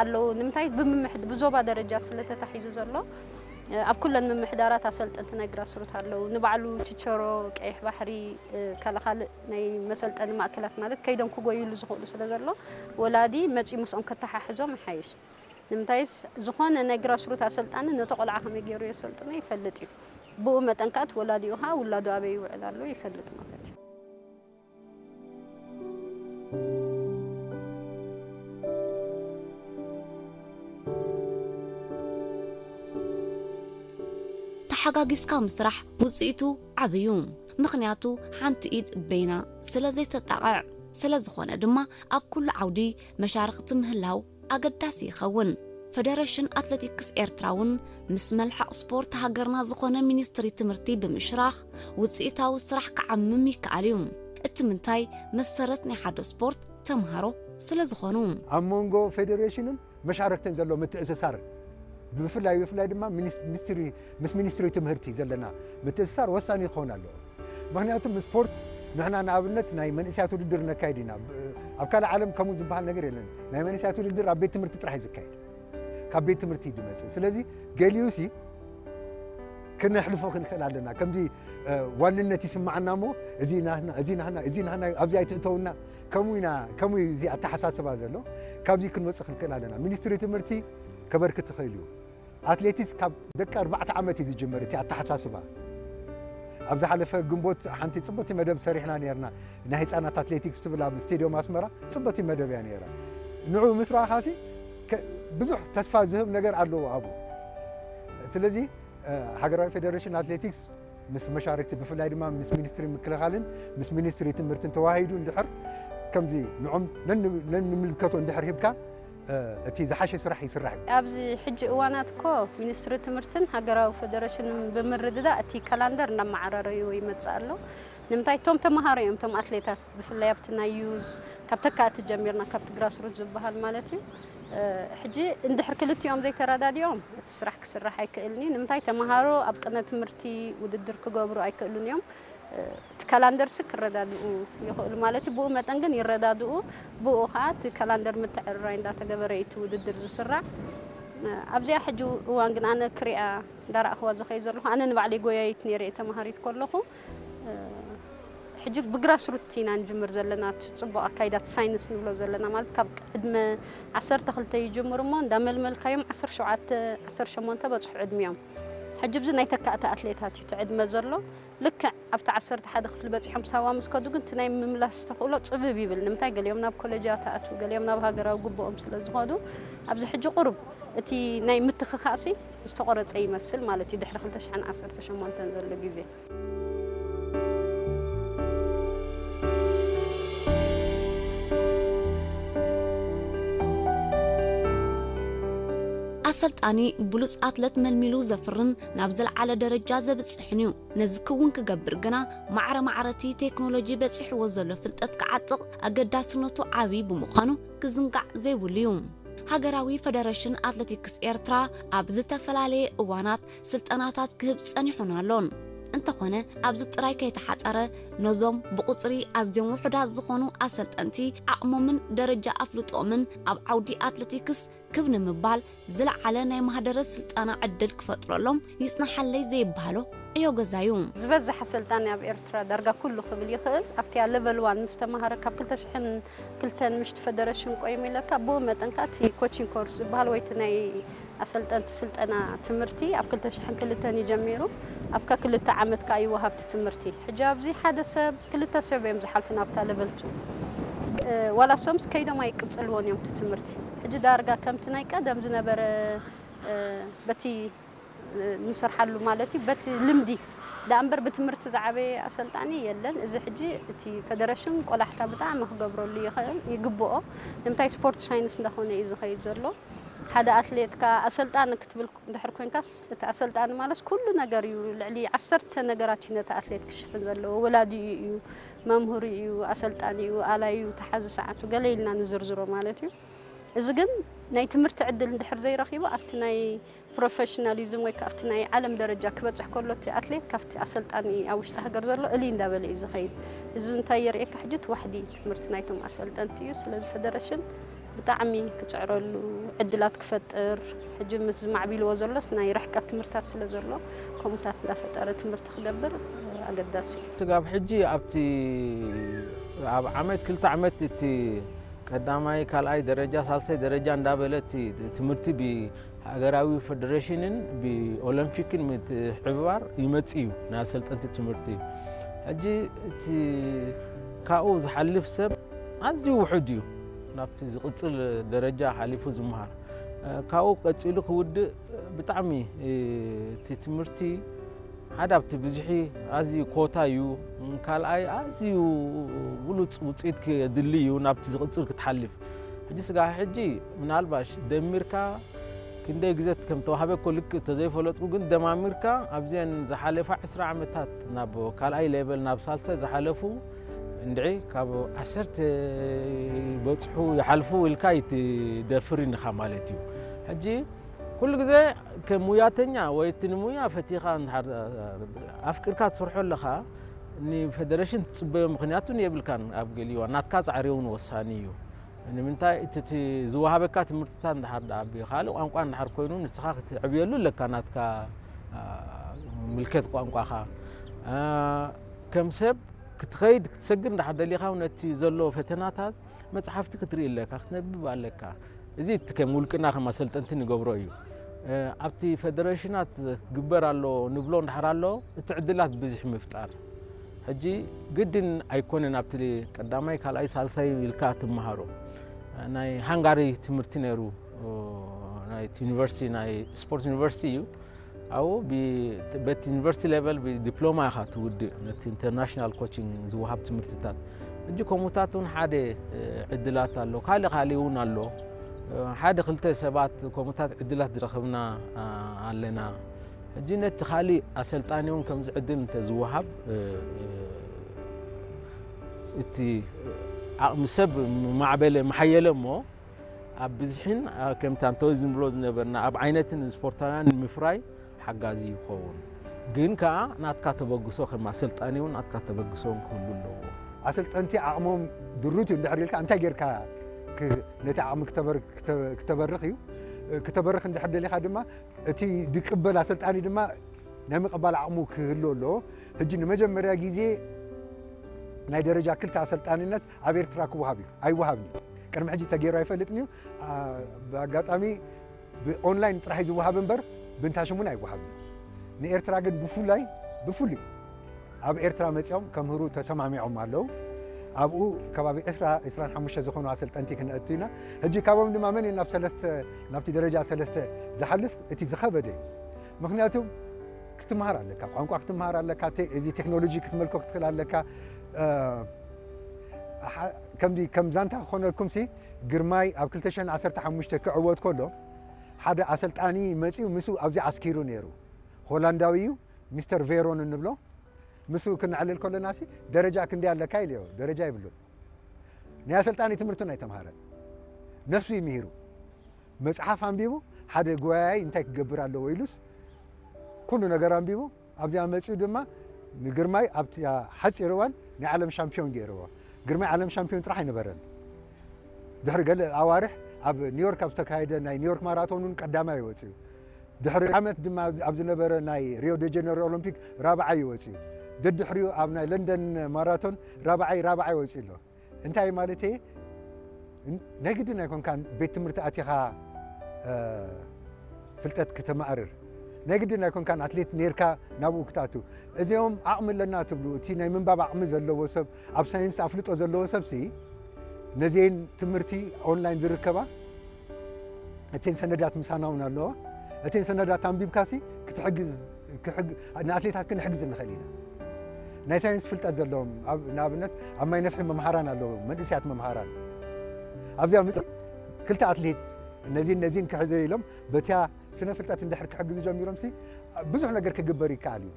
ኣለዉ። ንምንታይ ብምምሕድ-፣ ብዞባ ደረጃ ስለ ተታሒዙ ዘሎ፣ እ፣ ኣብ ኩለን ምምሕዳራት ኣሰልጠንቲ ናይ ግራስሩት ኣለዉ። ንባዕሉ ችቸሮ፣ ቀይሕ ባሕሪ፣ እ፣ ካልእ ካልእ ናይ መሰልጠኒ ማእከላት ማለት ከይዶም ክጎይሉ ዝኽእሉ ስለ ዘሎ፣ ወላዲ መጺኡ ምስኦም ከተሓሕዞም ይሓይሽ። ንምንታይስ፣ ዝኾነ ናይ ግራስሩት ኣሰልጣኒ ነቲ ቆልዓ ከመይ ገይሩ የሰልጥኖ ይፈልጥ እዩ። ብኡ መጠን ከኣ እቲ ወላዲኡ ከኣ ውላዱ ኣበይ ይውዕል ኣሎ ይፈልጥ ማለት እዩ። ተሓጋጊዝካ ምስራሕ ውፅኢቱ ዓብዩ። ምኽንያቱ ሓንቲ ኢድ በይና ስለ ዘይተጣቕዕ። ስለ ዝኾነ ድማ ኣብ ኩሉ ዓውዲ መሻርኽቲ ምህላው ኣገዳሲ ይኸውን። ፈደረሽን ኣትሌቲክስ ኤርትራ እውን ምስ መልሕቕ ስፖርት ሃገርና ዝኾነ ሚኒስትሪ ትምህርቲ ብምሽራኽ ውፅኢታዊ ስራሕ ክዓምም ይከኣል እዩ። እቲ ምንታይ መሰረት ናይ ሓደ ስፖርት ተምሃሮ ስለ ዝኾኑ። ኣብ መንጎ ፌደሬሽንን መሻርክትን ዘሎ ምትእስሳር ብፍላይ ብፍላይ ድማ ሚኒስ- ሚኒስትሪ ምስ ሚኒስትሪ ትምህርቲ ዘለና ምትእስሳር ወሳኒ ክኸውን ኣለዎ። ምክንያቱ ምስ ስፖርት ንሕና ንኣብነት ናይ መንእሰያት ውድድር ነካይድ ኢና። ብ- ኣብ ካልእ ዓለም ከምኡ ዝበሃል ነገር የለን። ናይ መንእሰያት ውድድር ኣብ ቤት ትምህርቲ ጥራሕ እዩ ዝካየድ። ካብ ቤት ትምህርቲ እዩ ዝመፅእ። ስለዚ ገሊኡ ሲ ክነሕልፎ ክንክእል ኣለና። ከምዚ ዋንነት ይስምዓና እሞ እዚ ናህና እዚ ናህና እዚ ናህና ኣብዚ ኣይትእተውና ከምኡ ኢና ከምኡ እዚ ኣተሓሳስባ ዘሎ ካብዚ ክንወፅእ ክንክእል ኣለና። ሚኒስትሪ ትምህርቲ ከበርክት ይኽእል እዩ። ኣትሌቲክስ ካብ ደቂ ኣርባዕተ ዓመት እዩ ዝጅምር እቲ ኣተሓሳስባ። ኣብ ዝሓለፈ ግንቦት ሓንቲ ፅቡቲ መደብ ሰሪሕና ነርና። ናይ ህፃናት ኣትሌቲክስ ትብል ኣብ ስቴድዮም ኣስመራ ፅቡቲ መደብ እያ ነራ። ንዑ ምስ ረኣኻሲ ብዙሕ ተስፋ ዝህብ ነገር ኣለዎ ኣብኡ። ስለዚ ሃገራዊ ፌደሬሽን ኣትሌቲክስ ምስ መሻርክቲ ብፍላይ ድማ ምስ ሚኒስትሪ ምክልኻልን ምስ ሚኒስትሪ ትምህርትን ተዋሂዱ እንድሕር ከምዚ ንዖም ነንምልከቶ እንድሕር ሂብካ እቲ ዝሓሸ ስራሕ ይስራሕ እዩ። ኣብዚ ሕጂ እዋናት እኮ ሚኒስትሪ ትምህርትን ሃገራዊ ፌደሬሽንን ብምርድዳእ እቲ ካላንደር እናመዓራረይዎ ይመፅእ ኣሎ። ንምንታይ እቶም ተምሃሮ እዮም እቶም ኣትሌታት ብፍላይ ኣብቲ ናይ ዩዝ ካብ ተካእቲ ጀሚርና ካብቲ ግራስሩት ዝበሃል ማለት እዩ። ሕጂ እንድሕር ክልቲኦም ዘይተረዳዲኦም እቲ ስራሕ ክስራሕ ኣይክእልን እዩ። ንምንታይ ተምሃሮ ኣብ ቅነ ትምህርቲ ውድድር ክገብሩ ኣይክእሉን እዮም። እቲ ካላንደርሲ ክረዳድኡ ይኽእሉ ማለት እዩ። ብኡ መጠን ግን ይረዳድኡ። ብኡ ከዓ እቲ ካላንደር ምትዕርራይ እንዳተገበረ እዩ እቲ ውድድር ዝስራዕ። ኣብዚኣ ሕጂ እዋን ግን ኣነ ክሪኣ እንዳረኣኽዋ ዝኸይ ዘለኹ ኣነ ንባዕለይ ጎያይት ነይረ እየ ተምሃሪት ከለኹ። ሕጂ ብግራስ ሩት ኢና ንጅምር ዘለና እቲ ፅቡቕ ኣካይዳ እቲ ሳይንስ ንብሎ ዘለና ማለት ካብ ዕድመ ዓሰርተ ክልተ ይጅምሩ እሞ እንዳመልመልካዮም ዓሰርተ ሸውዓተ ዓሰርተ ሸሞንተ በፅሑ ዕድሚኦም። ሕጂ ብዚ ናይ ተካእቲ ኣትሌታት እዩ እቲ ዕድመ ዘሎ። ልክዕ ኣብቲ ዓሰርተ ሓደ ክፍሊ በፂሖም ሳዋ ምስ ከዱ ግን እቲ ናይ ምምላስ ተኽእሎ ፅብብ ይብል። ንምንታይ ገሊኦም ናብ ኮለጃት ኣትዉ፣ ገሊኦም ናብ ሃገራዊ ግብኦም ስለ ዝኸዱ ኣብዚ ሕጂ ቁሩብ እቲ ናይ ምትኽኻእሲ ዝተቆረፀ ይመስል ማለት እዩ ድሕሪ ክልተ ሽሕን ዓሰርተ ሸሞንተን ዘሎ ግዜ። ኣሰልጣኒ ብሉፅ ኣትለት መልሚሉ ዘፍርን ናብ ዝለዓለ ደረጃ ዘብፅሕን እዩ። ነዚ ክውን ክገብር ግና ማዕረ ማዕረቲ ቴክኖሎጂ በፂሕዎ ዘሎ ፍልጠት ክዓጥቕ ኣገዳስነቱ ዓብዪ ብምዃኑ ክዝንጋዕ ዘይብሉ እዩ። ሃገራዊ ፈደረሽን ኣትሌቲክስ ኤርትራ ኣብ ዝተፈላለየ እዋናት ስልጠናታት ክህብ ጸኒሑን ኣሎን። እንተኾነ ኣብዚ ጥራይ ከይተሓጸረ ነዞም ብቑጽሪ ኣዝዮም ውሑዳት ዝኾኑ ኣሰልጠንቲ ዓቕሞምን ደረጃ ኣፍልጦኦምን ኣብ ዓውዲ ኣትሌቲክስ ክብ ንምባል ዝለዓለ ናይ ማህደረ ስልጠና ዕድል ክፈጥረሎም ይጽንሓለይ ዘይበሃሎ ዕዮ ገዛ እዩ። ዝበዝሕ ኣሰልጣኒ ኣብ ኤርትራ ዳርጋ ኩሉ ክብል ይኽእል ኣብቲያ ለቨል ዋን ምስ ተማሃረ ካብ ክልተ ሽሕን ክልተን ምሽቲ ፈደረሽን ቆይሙ ኢለካ ብኡ መጠን ከኣ እቲ ኮቺንግ ኮርስ ዝበሃል ወይ እቲ ናይ ኣሰልጠንቲ ስልጠና ትምህርቲ ኣብ ክልተ ሽሕን ክልተን እዩ ጀሚሩ። ኣብ ከክልተ ዓመት ከኣ እዩ ወሃብቲ ትምህርቲ። ሕጂ ኣብዚ ሓደ ሰብ ክልተ ሰብ እዮም ዝሓልፉ ናብታ ለቨል ቱ። ዋላ እሶምስ ከይዶም ኣይቅጽልዎን እዮም እቲ ትምህርቲ። ሕጂ ዳርጋ ከምቲ ናይ ቀደም ዝነበረ በቲ ንሰርሓሉ ማለት እዩ በቲ ልምዲ ደኣ እምበር ብትምህርቲ ዝዓበየ ኣሰልጣኒ የለን። እዚ ሕጂ እቲ ፈደረሽን ቆላሕታ ብጣዕሚ ክገብረሉ ይኽእል ይግብኦ። ንምንታይ ስፖርት ሳይንስ እንዳኾነ እዩ ዝኸይድ ዘሎ። ሓደ ኣትሌት ከኣ ኣሰልጣኒ ክትብል እንድሕር ኮንካስ እቲ ኣሰልጣኒ ማለት ኩሉ ነገር እዩ። ልዕሊ ዓሰርተ ነገራት እዩ ነቲ ኣትሌት ክሽፍን ዘለዎ። ወላዲኡ እዩ፣ መምህሩ እዩ፣ ኣሰልጣኒ እዩ፣ ኣላዩ፣ ተሓዚ ሰዓቱ ገለ ኢልና ንዝርዝሮ ማለት እዩ። እዚ ግን ናይ ትምህርቲ ዕድል እንድሕር ዘይረኺቡ ኣብቲ ናይ ፕሮፌሽናሊዝም ወይ ከዓ ኣብቲ ናይ ዓለም ደረጃ ክበፅሕ ከሎ እቲ ኣትሌት ካብቲ ኣሰልጣኒ ኣብ ውሽጢ ሃገር ዘሎ እልይ እንዳበለ እዩ ዝኸይድ። እዚ እንታይ የርእየካ? ሕጂ እቲ ዋሕዲ ትምህርቲ ናይቶም ኣሰልጠንቲ እዩ። ስለዚ ፈደረሽን ብጣዕሚ ክፅዕረሉ ዕድላት ክፈጥር፣ ሕጂ ምስ ዝማዕቢልዎ ዘሎስ ናይ ርሕቀት ትምህርታት ስለ ዘሎ፣ ከምኡታት እንዳፈጠረ ትምህርቲ ክገብር ኣገዳሲ እዩ። ስጋብ ሕጂ ኣብቲ ኣብ ዓመት ክልተ ዓመት እቲ ቀዳማይ ካልኣይ ደረጃ ሳልሳይ ደረጃ እንዳበለ እቲ ትምህርቲ ብሃገራዊ ፌደሬሽንን ብኦሎምፒክን ምትሕብባር ይመጽእ እዩ ናይ ኣሰልጠንቲ ትምህርቲ። ሕጂ እቲ ካብኡ ዝሓልፍ ሰብ ኣዝዩ ውሑድ እዩ ናብቲ ዝቕጽል ደረጃ ሓሊፉ ዝመሃር። ካብኡ ቀጺሉ ክውድእ ብጣዕሚ እቲ ትምህርቲ ሓደ ኣብቲ ብዝሒ ኣዝዩ ኮታ እዩ። ካልኣይ ኣዝዩ ብሉጽ ውጽኢት ክድሊ እዩ ናብቲ ዝቕጽል ክትሓልፍ። ሕጂ ስጋብ ሕጂ ምናልባሽ ደሚርካ ክንደይ ግዜ ከም ተዋህበ እኮ ልክእ ተዘይፈለጥኩ፣ ግን ደማሚርካ ኣብዘን ዝሓለፋ ዕስራ ዓመታት ናብ ካልኣይ ሌቨል ናብ ሳልሳይ ዝሓለፉ እንድዒ ካብ ዓሰርተ ይበጽሑ ይሓልፉ ኢልካ ይትደፍር ኢንኻ ማለት እዩ። ሕጂ ኩሉ ግዜ ከም ሙያተኛ ወይ እቲ ንሙያ ፈቲኻ እንድሓር ኣፍቂርካ ትሰርሖ ኣለኻ፣ ንፌደሬሽን ትጽበዮ ምኽንያት እውን የብልካን። ኣብ ገሊዋ ናትካ ጻዕሪ እውን ወሳኒ እዩ። ንምንታይ እቲ፣ እቲ ዝወሃበካ ትምህርትታት እንድሓር ደኣ ብኻልእ ቋንቋ እንድሓር ኮይኑ ንስኻ ክትዕብየሉ ኣለካ ናትካ፣ አ፣ ምልከት ቋንቋኻ። አ፣ ከም ሰብ ክትኸይድ ክትሰግር እንድሓር ደሊኻ እውን ነቲ ዘሎ ፈተናታት መጽሓፍቲ ክትርኢ ኣለካ፣ ክትነብብ ኣለካ። እዚ እቲ ከም ውልቅና ከም ኣሰልጠንቲ ንገብሮ እዩ። እ፣ ኣብቲ ፌደሬሽናት ክግበር ኣሎ ንብሎ እንድሓር ኣሎ፣ እቲ ዕድላት ብዝሒ ምፍጣር። ሕጂ ግድን ኣይኮነን ኣብቲ ቀዳማይ፣ ካልኣይ፣ ሳልሳይ ኢልካ ትመሃሮ። ናይ ሃንጋሪ ትምህርቲ ነይሩ፣ እ፣ ናይቲ ዩኒቨርሲቲ፣ ናይ ስፖርት ዩኒቨርሲቲ እዩ። ኣብኡ ብ-፣ በቲ ዩኒቨርሲቲ ሌቨል ብዲፕሎማ ኢኻ ትውድእ፣ ነቲ ኢንተርናሽናል ኮችንግ ዝወሃብ ትምህርትታት። ሕጂ ከምኡታት እውን ሓደ፣ እ፣ ዕድላት ኣሎ። ካልእ ካልእ እውን ኣሎ። እ፣ ሓደ ክልተ ሰባት ከምኡታት ዕድላት ዝረኸብና፣ አ፣ ኣለና። ሕጂ ነቲ ካልእ ኣሰልጣኒ እውን ከምዚ ዕድል እንተዝወሃብ፣ እ፣ እ፣ እቲ ዓቕሚ ሰብ ማዕበለ፣ መሓየለ እሞ፣ ኣብ ብዝሒን፣ አ፣ ከምቲ ኣንቶኒ ዝብሎ ዝነበርና ኣብ ዓይነትን ስፖርታውያን ንምፍራይ ሓጋዚ ይኸውን። ግን ከኣ ናትካ ተበግሶ፣ ከም ኣሰልጣኒ እውን ናትካ ተበግሶ እውን ክህሉ ኣለዎ። ኣሰልጠንቲ ዓቕሞም ድሩት እዩ እንድሕር ኢልካ፣ እንታይ ጌርካ ክ-፣ ነቲ ዓቕሚ ክተበር-፣ ክተ-፣ ክተበርኽ እዩ። እ፣ ክተበርኽ እንድሕር ደሊኻ ድማ፣ እቲ ዝቅበል ኣሰልጣኒ ድማ ናይ ምቕባል ዓቕሙ ክህሉ ኣለዎ። ሕጂ ንመጀመርያ ግዜ ናይ ደረጃ ክልተ ኣሰልጣንነት ኣብ ኤርትራ ክወሃብ እዩ። ኣይወሃብን እዩ። ቅድሚ ሕጂ ተገይሩ ኣይፈልጥን እዩ። አ፣ ብኣጋጣሚ ብኦንላይን ጥራሕ እዩ ዝወሃብ እምበር፣ ብንታሽም እውን ኣይወሃብን እዩ። ንኤርትራ ግን ብፍላይ፣ ብፍሉይ ኣብ ኤርትራ መጺኦም ከምህሩ ተሰማሚዖም ኣለዉ። ኣብኡ ከባቢ ዕስራ፣ ዕስራን ሓሙሽተ ዝኾኑ ኣሰልጠንቲ ክነእቱ ኢና። ሕጂ ካብኦም ድማ መን እዩ ናብ ሰለስተ፣ ናብቲ ደረጃ ሰለስተ ዝሓልፍ? እቲ ዝኸበደ እዩ። ምኽንያቱ ክትመሃር ኣለካ፣ ቋንቋ ክትመሃር ኣለካ፣ ቴ-፣ እዚ ቴክኖሎጂ ክትመልኮ ክትኽእል ኣለካ። እ፣ ሓ-፣ ከምዚ ከም ዛንታ ክኾነልኩምሲ፣ ግርማይ ኣብ ክልተ ሽሕን ዓሰርተ ሓሙሽተ ክዕወት ከሎ፣ ሓደ ኣሰልጣኒ መጺኡ ምስኡ ኣብዚ ዓስኪሩ ነይሩ። ሆላንዳዊ እዩ፣ ሚስተር ቬሮን እንብሎ። ምስኡ ክነዕልል ከለናሲ፣ ደረጃ ክንደይ ኣለካ ኢለዮ። ደረጃ የብሉን። ናይ ኣሰልጣኒ ትምህርቱን ኣይተምሃረን። ነፍሱ እዩ ምሂሩ። መጽሓፍ ኣንቢቡ፣ ሓደ ጎያያይ እንታይ ክገብር ኣለዎ ኢሉስ፣ ኩሉ ነገር ኣንቢቡ፣ ኣብዚኣ መጺኡ ድማ ንግርማይ ኣብቲ ሓጺር እዋን ናይ ዓለም ሻምፒዮን ገይርዎ። ግርማይ ዓለም ሻምፒዮን ጥራሕ ኣይነበረን። ድሕሪ ገለ ኣዋርሕ ኣብ ኒውዮርክ ኣብ ዝተካየደ ናይ ኒውዮርክ ማራቶን እውን ቀዳማይ ወጺኡ። ድሕሪ ዓመት ድማ ኣብ ዝነበረ ናይ ሪዮ ደ ጀነሮ ኦሎምፒክ ራብዓይ እዩ ወጺኡ። ደድሕሪኡ ኣብ ናይ ለንደን ማራቶን ራብዓይ፣ ራብዓይ ወጺኡ ኣሎ። እንታይ ማለት እየ? ን-፣ ናይ ግድን ኣይኮንካን ቤት ትምህርቲ ኣቲኻ፣ እ፣ ፍልጠት ክተማእርር። ናይ ግድን ኣይኮንካን ኣትሌት ኔርካ ናብኡ ክትኣቱ። እዚኦም ዓቕሚ ኣለና ትብሉ፣ እቲ ናይ ምንባብ ዓቕሚ ዘለዎ ሰብ፣ ኣብ ሳይንስ ኣፍልጦ ዘለዎ ሰብሲ፣ ነዚአን ትምህርቲ ኦንላይን ዝርከባ፣ እተን ሰነዳት ምሳና እውን ኣለዋ። እተን ሰነዳት ኣንቢብካሲ ክትሕግዝ፣ ክሕግ-፣ ንኣትሌታት ክንሕግዝ ንኽእል ኢና። ናይ ሳይንስ ፍልጠት ዘለዎም፣ ኣብ፣ ንኣብነት ኣብ ማይ ነፍሒ መምሃራን ኣለዉ፣ መንእሰያት መምሃራን። ኣብዚኣ ምጽ-፣ ክልተ ኣትሌት ነዚን ነዚን ክሕዘ ኢሎም በቲያ ስነ ፍልጠት እንድሕር ክሕግዙ ጀሚሮምሲ ብዙሕ ነገር ክግበር ይከኣል እዩ።